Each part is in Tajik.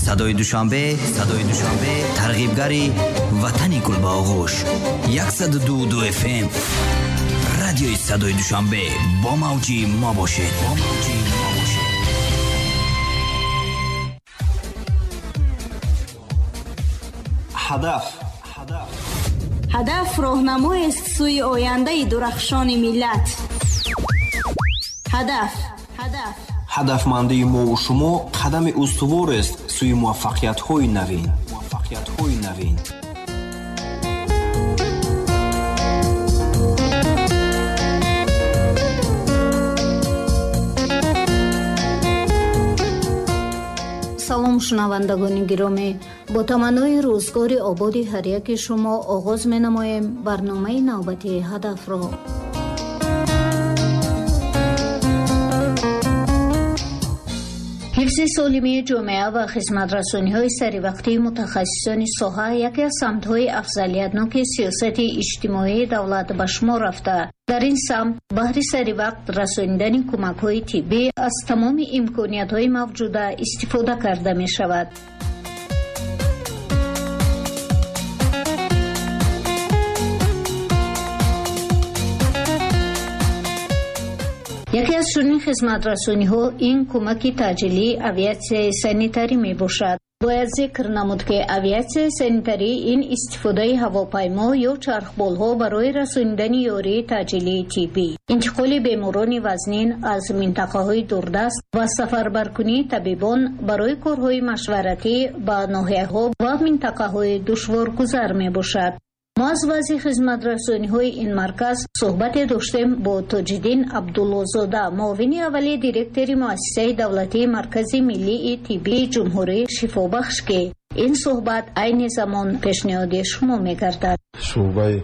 Садои Душанбе, Садои Душанбе, тарғибгари ватани гул ба оғӯш. 102.2 FM. Радиои Садои Душанбе бо мавҷи мо бошед. Бо мавҷи мо бошед. Ҳадаф. Ҳадаф роҳнамоест сӯи ояндаи дурахшони миллат. Ҳадаф. Ҳадаф. Ҳадафмандии мову шумо қадами устуворест сӯи муваффақиятҳои навин. Муваффақиятҳои навин. Салом, шунавандагони гиромӣ. Бо таманнои рӯзгори ободи ҳар яки шумо оғоз менамоем барномаи навбатии ҳадафро. Ҳифзи солимии ҷомеа ва хизматрасониҳои саривақтии мутахассисони соҳа яке аз самтҳои афзалиятноки сиёсати иҷтимоии давлат ба шумор рафта. Дар ин самт баҳри саривақт расонидани кӯмакҳои тиббӣ аз тамоми имкониятҳои мавҷуда истифода карда мешавад. Яке аз чунин хизматрасониҳо ин кӯмаки таъҷилии авиатсияи санитарӣ мебошад. Бояд зикр намуд, ки авиатсияи санитарӣ ин истифодаи ҳавопаймо ё чархболҳо барои расонидани ёрии таъҷилии тиббӣ, интиқоли беморони вазнин аз минтақаҳои дурдаст ва сафарбаркунии табибон барои корҳои машваратӣ ба ноҳияҳо ва минтақаҳои душворгузар мебошад. Мо аз вазъи хизматрасониҳои ин марказ суҳбате доштем бо Тоҷиддин Абдуллозода, муовини аввали директори муассисаи давлатии Маркази миллии тиббии ҷумҳурии Шифобахш, ки ин суҳбат айни замон пешниҳоди шумо мегардад. Шӯъбаи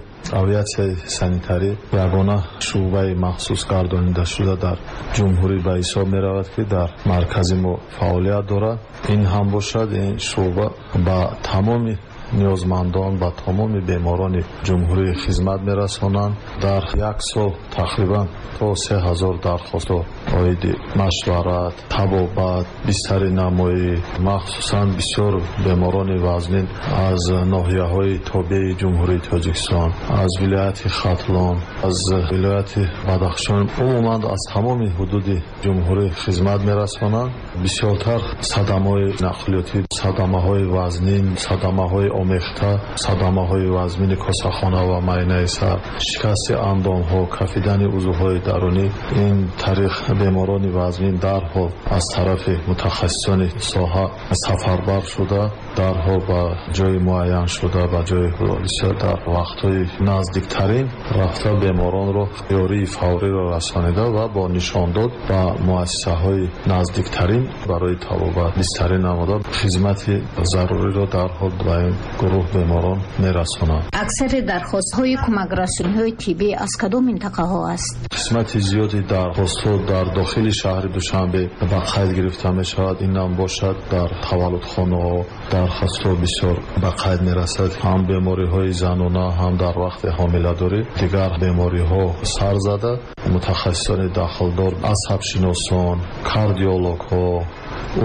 авиатсияи санитарӣ ягона шӯъбаи махсус гардонидашуда дар ҷумҳурӣ ба ҳисоб меравад, ки дар маркази мо фаъолият дорад. Ин ҳам бошад, ин шӯъба ба тамоми ниёзмандон, ба тамоми беморони ҷумҳурӣ хизмат мерасонанд. Дар як сол тақрибан то 3000 дархостҳо оиди машварат, табобат, бистарӣ намоӣ, махсусан бисёр беморони вазнин аз ноҳияҳои тобеи Ҷумҳурии Тоҷикистон, аз вилояти Хатлон, аз вилояти Бадахшон, умуман аз тамоми ҳудуди ҷумҳурӣ хизмат мерасонанд. Бисёртар садамаҳои нақлиётӣ, садамаҳои вазнин, садамаҳои омехта, садамаҳои вазмини косахона ва майнаи сар, шикасти андомҳо, кафидани узвҳои дарунӣ, ин тариқ беморони вазмин дарҳол аз тарафи мутахассисони соҳа сафарбар шуда, дарҳол ба ҷои муайян шуда, ба ҷои ҳодиса дар вақтҳои наздиктарин рафта беморонро ёрии фавриро расонида ва бо нишондод ба муассисаҳои наздиктарин барои табобат бистарӣ намуда хизмати заруриро дарҳол ба ин гурӯҳ беморон мерасонанд. Аксари дархостҳои кӯмакрасониҳои тиббӣ аз кадом минтақаҳо аст? Қисмати зиёди дархостҳо дар дохили шаҳри Душанбе ба қайд гирифта мешавад. Ин ҳам бошад дар таваллудхонаҳо дархостҳо бисёр ба қайд мерасад. Ҳам бемориҳои занона, ҳам дар вақти ҳомиладорӣ дигар бемориҳо сар зада, мутахассисони дахлдор, асабшиносон, кардиологҳо,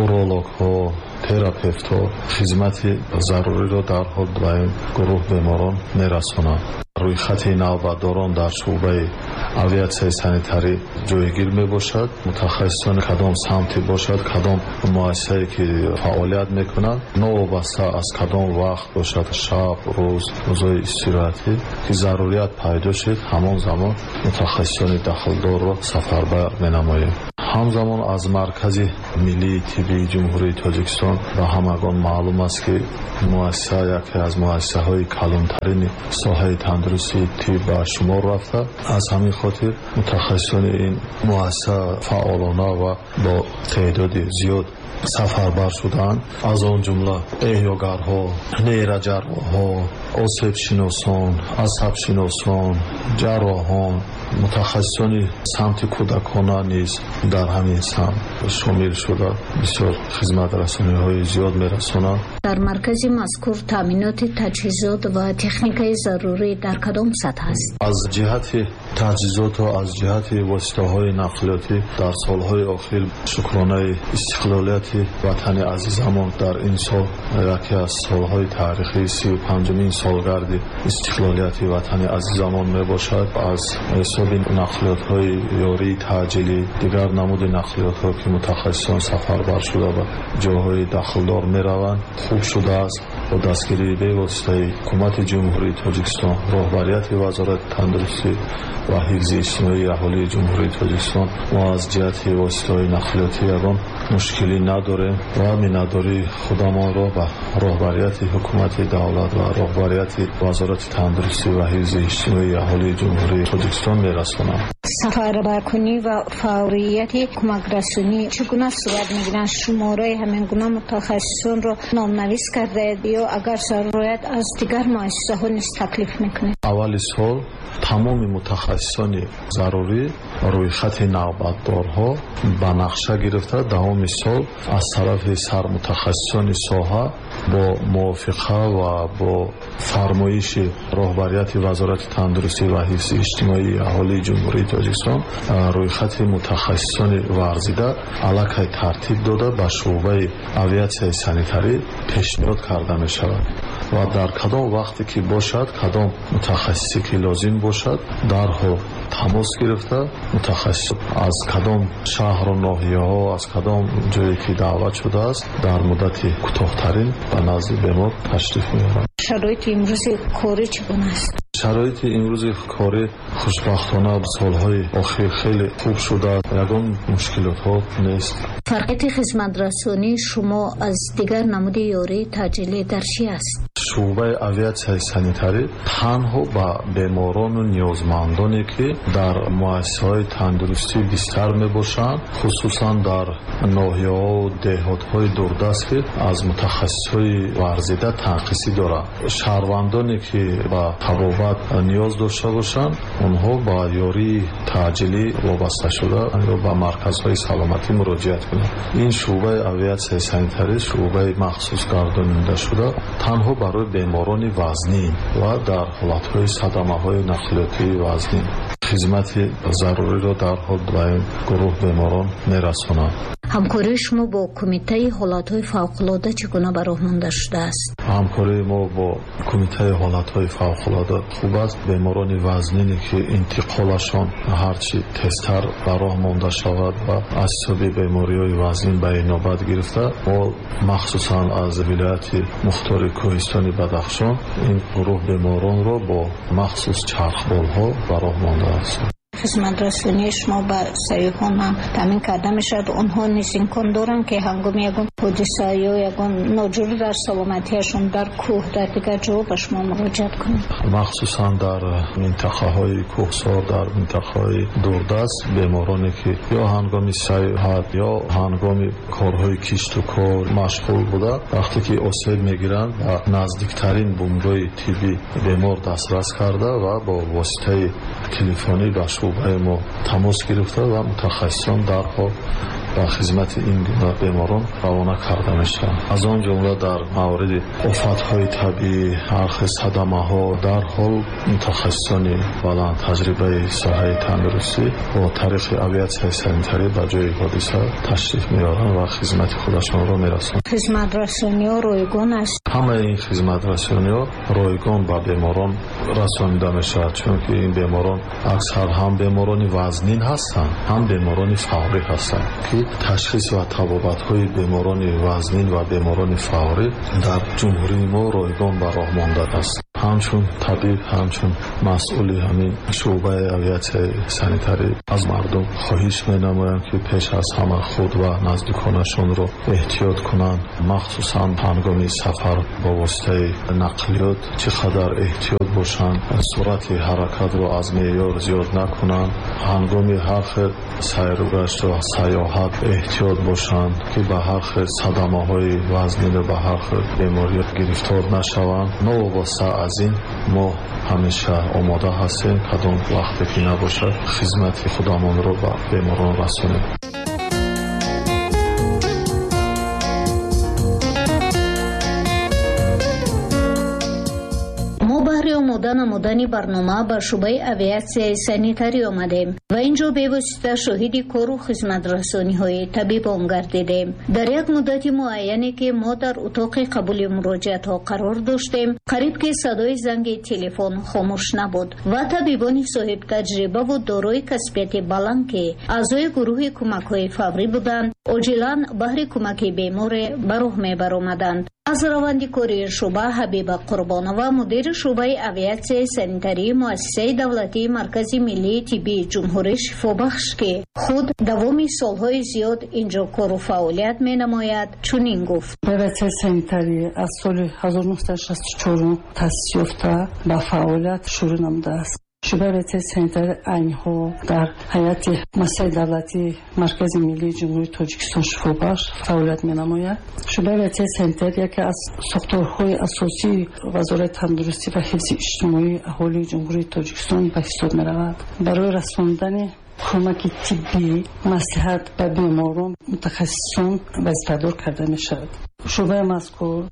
урологҳо, терапевтҳо хизмати заруриро дарҳол ба ин гурӯҳ беморон мерасонанд. Рӯйхати навбатдорон дар шӯъбаи авиатсияи санитарӣ ҷойгир мебошад. Мутахассисони кадом самте бошад, кадом муассисае ки фаъолият мекунанд, новобаста аз кадом вақт бошад, шаб, рӯз, рӯзҳои истироҳатӣ, ки зарурият пайдо шуд, ҳамон замон мутахассисони дахлдорро сафарбар менамоем. Ҳамзамон аз Маркази миллии тиббии Ҷумҳурии Тоҷикистон ба ҳамагон маълум аст, ки муассиса яке аз муассисаҳои калонтарини соҳаи тандурустии тиб ба шумор рафта. Аз ҳамин хотир мутахассисони ин муассиса фаъолона ва бо теъдоди зиёд сафарбар шуданд. Аз он ҷумла эҳёгарҳо, нейроҷарроҳҳо, осебшиносон, асабшиносон, ҷарроҳон, мутахассисони самти кӯдакона низ дар ҳамин самт шомил шуда бисёр хизматрасониҳои зиёд мерасонанд. Дар маркази мазкур таъминоти таҷҳизот ва техникаи зарурӣ дар кадом сатҳ аст? Аз ҷиҳати таҷҳизоту аз ҷиҳати воситаҳои нақлиётӣ дар солҳои охир шукронаи истиқлолияти ватани азизамон дар ин сол яке аз солҳои таърихии 35-умин солгарди истиқлолияти ватани азизамон мебошад. Аз ҳисоби нақлиётҳои ёрии таъҷилӣ, дигар намуди нақлиётҳо ки мутахассисон сафарбар шуда ба ҷойҳои дахлдор мераванд, хуб шудааст. Бо дастгирии бевоситаи ҳукумати Ҷумҳурии Тоҷикистон, роҳбарияти Вазорати тандурустӣ ва ҳифзи иҷтимоии аҳолии Ҷумҳурии Тоҷикистон мо аз ҷиҳати воситаҳои нақлиётӣ ягон мушкилӣ надорем ва миннатдории худамонро ба роҳбарияти ҳукумати давлат ва роҳбарияти Вазорати тандурустӣ ва ҳифзи иҷтимоии аҳолии Ҷумҳурии Тоҷикистон мерасонам. Сафарбаркунӣ ва фаврияти кӯмакрасонӣ чӣ гуна сурат мегиранд? Шумораи ҳамин гуна мутахассисонро номнавис кардаед ё агар зарур аз дигар муассисаҳо низ таклиф мекунед? Аввали сол тамоми мутахассисони зарурӣ рӯйхати навбатдорҳо ба нақша гирифта давоми сол аз тарафи сармутахассисони соҳа бо мувофиқа ва бо фармоиши роҳбарияти Вазорати тандурустӣ ва ҳифзи иҷтимоии аҳолии Ҷумҳурии Тоҷикистон рӯйхати мутахассисони варзида аллакай тартиб дода ба шӯъбаи авиатсияи санитарӣ пешниҳод карда мешавад ва дар кадом вақте ки бошад, кадом мутахассисе ки лозим бошад, дарҳол тамос гирифта мутахассис аз кадом шаҳру ноҳияҳо, аз кадом ҷое ки даъват шудааст, дар муддати кӯтоҳтарин ба назди бемор ташриф меоранд. Шароити имрӯзи корӣ чӣ гуна аст? Шароити имрӯзи корӣ хушбахтона солҳои охир хеле хуб шудааст, ягон мушкилотҳо нест. Фарқияти хизматрасонии шумо аз дигар намуди ёрии таъҷилӣ дар чӣ аст? Шӯъбаи авиатсияи санитарӣ танҳо ба беморону ниёзмандоне ки дар муассисаҳои тандурустӣ бистар мебошанд, хусусан дар ноҳияҳо деҳотҳои дурдаст ки аз мутахассисҳои варзида танқисӣ доранд. Шаҳрвандоне ки ба табобат ниёз дошта бошанд, онҳо ба ёрии таъҷилӣ вобаста шуда ё ба марказҳои саломатӣ муроҷиат кунанд. Ин шӯъбаи авиатсияи санитарӣ шӯъбаи махсус гардонида шуда танҳо барои беморони вазнин ва дар ҳолатҳои садамаҳои нақлиётии вазнин хизмати заруриро дарҳол ба ин гурӯҳ беморон мерасонанд. Ҳамкории шумо бо Кумитаи ҳолатҳои фавқулода чӣ гуна ба роҳ монда шудааст? Ҳамкории мо бо Кумитаи ҳолатҳои фавқулода хуб аст. Беморони вазнине ки интиқолашон ҳарчи тезтар ба роҳ монда шавад ва аз ҳисоби бемориҳои вазнин ба инобат гирифта, мо махсусан аз вилояти мухтори кӯҳистони Бадахшон ин гурӯҳ беморонро бо махсус чархболҳо ба роҳ мондааст. Хизматрасонии шумо ба сайёҳон ҳам таъмин карда мешавад. Онҳо низ имкон доранд ки ҳангоми ягон ҳодиса ё ягон ноҷурӣ дар саломатиашон дар кӯҳ, дар дигар ҷо ба шумо муроҷиат кунанд? Махсусан дар минтақаҳои кӯҳсор, дар минтақаҳои дурдаст бемороне ки ё ҳангоми сайёҳат ё ҳангоми корҳои кишту кор машғул буда, вақте ки осеб мегиранд, ба наздиктарин бунгоҳи тиббӣ бемор дастрас карда ва бо воситаи телефонӣ ба шӯъбаи мо тамос гирифта ва мутахассисон дарҳол ба хизмати ин гуна беморон равона карда мешаванд. Аз он ҷумла дар мавриди офатҳои табиӣ, ҳар хел садамаҳо дарҳол мутахассисони баландтаҷрибаи соҳаи тандурустӣ бо тариқи авиатсияи санитарӣ ба ҷои ҳодиса ташриф меоранд ва хизмати худашонро мерасонанд. Хизматрасониҳо ройгон аст? Ҳамаи ин хизматрасониҳо ройгон ба беморон расонида мешавад, чунки ин беморон аксар ҳам беморони вазнин ҳастанд, ҳам беморони фаврӣ ҳастанд ки ташхис ва табобатҳои беморони вазнин ва беморони фаврӣ дар ҷумҳурии мо ройгон ба роҳ мондааст. Ҳамчун табиб, ҳамчун масъули ҳамин шӯъбаи авиатсияи санитарӣ аз мардум хоҳиш менамоям ки пеш аз ҳама худ ва наздиконашонро эҳтиёт кунанд, махсусан ҳангоми сафар бо воситаи нақлиёт чӣ қадар эҳтиёт бошанд, суръати ҳаракатро аз меъёр зиёд накунанд, ҳангоми ҳар хел сайругашту сайёҳат эҳтиёт бошанд ки ба ҳар хел садамаҳои вазнину ба ҳар хел беморӣ гирифтор нашаванд. Новобаста аз ин мо ҳамеша омода ҳастем, кадом вақте ки набошад, хизмати худамонро ба беморон расонем. омода намудани барнома ба шӯъбаи авиатсияи санитарӣ омадем ва инҷо бевосита шоҳиди кору хизматрасониҳои табибон гардидем. Дар як муддати муайяне ки мо дар утоқи қабули муроҷиатҳо қарор доштем, қариб ки садои занги телефон хомӯш набуд ва табибони соҳибтаҷрибаву дорои касбияти баланд, ки аъзои гурӯҳи кӯмакҳои фаврӣ буданд, оҷилан баҳри кӯмаки беморе ба роҳ мебаромаданд. Аз раванди кори шӯъба Ҳабиба Қурбонова, мудири шӯъбаи авиатсияи санитарии муассисаи давлатии Маркази миллии тиббии ҷумҳурӣ «Шифобахш», ки худ давоми солҳои зиёд инҷо кору фаъолият менамояд, чунин гуфт. Авиатсияи санитарӣ аз соли 1964 таъсис ёфта, ба фаъолият шурӯъ намудааст. Шӯъбаи авиатсияи санитарӣ айни дар ҳайати муассисаи давлатии Маркази миллии Ҷумҳурии Тоҷикистон «Шифобахш» фаъолият менамояд. Шӯъбаи авиатсияи санитарӣ яке аз сохторҳои асосии Вазорати тандурустӣ ва ҳифзи иҷтимоии аҳолии Ҷумҳурии Тоҷикистон ба ҳисоб меравад. Барои расондани кӯмаки тиббӣ, маслиҳат ба беморон мутахассисон вазифадор карда мешавад. Шӯъбаи мазкур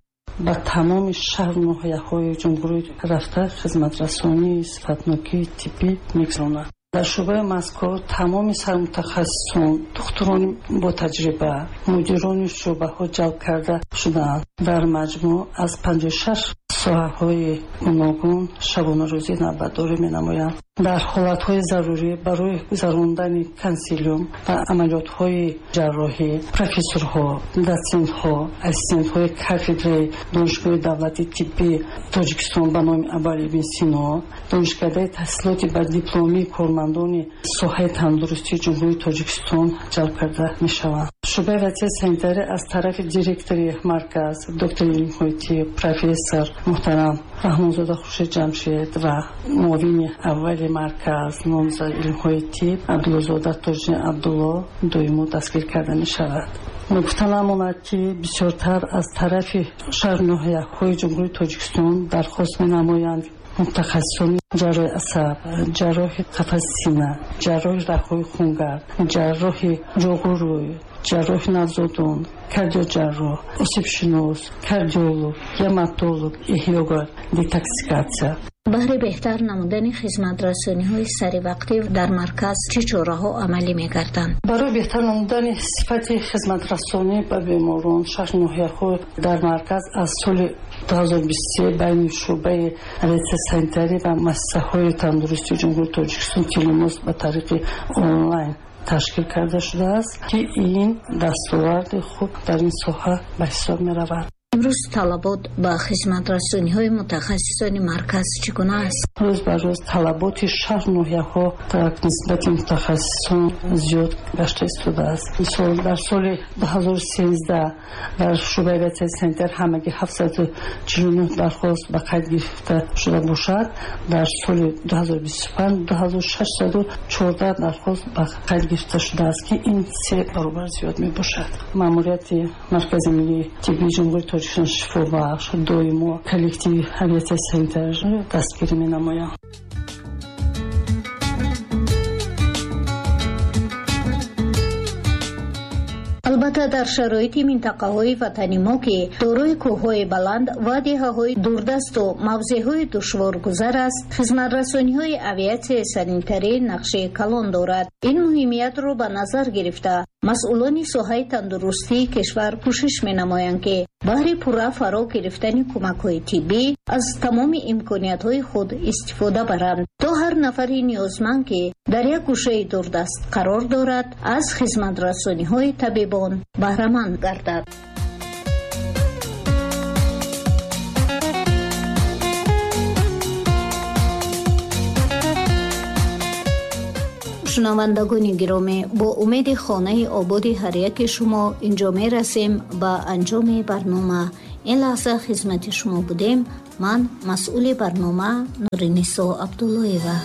ба тамоми шаҳру ноҳияҳои ҷумҳурӣ рафта, хизматрасонии сифатнокии тиббӣ мегузаронад. Дар шӯъбаи мазкур тамоми сармутахассисон, духтурони ботаҷриба, мудирони шӯъбаҳо ҷалб карда шудаанд. Дар маҷмӯъ аз 56 соҳаҳои гуногун шабонарӯзӣ навбатдорӣ менамоянд. Дар ҳолатҳои зарурӣ барои гузарондани консилиум ва амалиётҳои ҷарроҳӣ профессорҳо, дотсентҳо, ассистентҳои кафедраи Донишгоҳи давлатии тиббии Тоҷикистон ба номи Абуалӣ ибни Сино, Донишкадаи таҳсилоти ба дипломии кормандони соҳаи тандурустии Ҷумҳурии Тоҷикистон ҷалб карда мешаванд. Шӯъбаи авиатсияи санитарӣ аз тарафи директори марказ, доктори илмҳои тиб, профессор муҳтарам Раҳмонзода Хуршед Ҷамшед ва муовини аввали марказ, номзади илмҳои тиб Абдуллозода Тоҷиддин Абдулло доимо дастгир карда мешавад. Ногуфта намонад, ки бисёртар аз тарафи шаҳру ноҳияҳои Ҷумҳурии Тоҷикистон дархост менамоянд мутахассисони ҷарроҳи асаб, ҷарроҳи қафаси сина, ҷарроҳи раҳҳои хунгард, ҷарроҳи ҷоғурӯй, ҷарроҳи навзодон, кардиоҷарроҳ, осебшинос, кардиолог, гематолог, эҳёгар, детоксикатсия. Баҳри беҳтар намудани хизматрасониҳои саривақтӣ дар марказ чӣ чораҳо амалӣ мегарданд? Барои беҳтар намудани сифати хизматрасонӣ ба беморон шаҳру ноҳияҳо дар марказ аз соли 2023 байни шӯъбаи авиатсияи санитарӣ ва муассисаҳои тандурустии Ҷумҳурии Тоҷикистон телемост ба тариқи онлайн ташкил карда шудааст, ки ин дастоварди хуб дар ин соҳа ба ҳисоб меравад. Имрӯз талабот ба хизматрасониҳои мутахассисони марказ чӣ гуна аст? Рӯз ба рӯз талаботи шаҳру ноҳияҳо дар нисбати мутахассисон зиёд гашта истодааст. Мисол, дар соли 2013 дар шӯъбаи авиатсияи санитар ҳамагӣ 749 дархост ба қайд гирифта шуда бошад, дар соли 2025 2614 дархост ба қайд гирифта шудааст, ки ин се баробар зиёд мебошад. Маъмурияти Маркази миллии тиббии Ҷумҳурии Тоҷикистон «Шифобахш» доимо коллективи авиатсияи санитариро дастгирӣ менамояд. Албатта, дар шароити минтақаҳои ватани мо, ки дорои кӯҳҳои баланд ва деҳаҳои дурдасту мавзеъҳои душворгузар аст, хизматрасониҳои авиатсияи санитарӣ нақши калон дорад. Ин муҳимиятро ба назар гирифта, масъулони соҳаи тандурустии кишвар кӯшиш менамоянд, ки баҳри пурра фаро гирифтани кӯмакҳои тиббӣ аз тамоми имкониятҳои худ истифода баранд, то ҳар нафари ниёзманд, ки дар як гӯшаи дурдаст қарор дорад, аз хизматрасониҳои табибон баҳраманд гардад. Шунавандагони гиромӣ, бо умеди хонаи ободи ҳар яки шумо инҷо мерасем ба анҷоми барнома. Ин лаҳза хизмати шумо будем ман, масъули барнома Нуринисо Абдуллоева.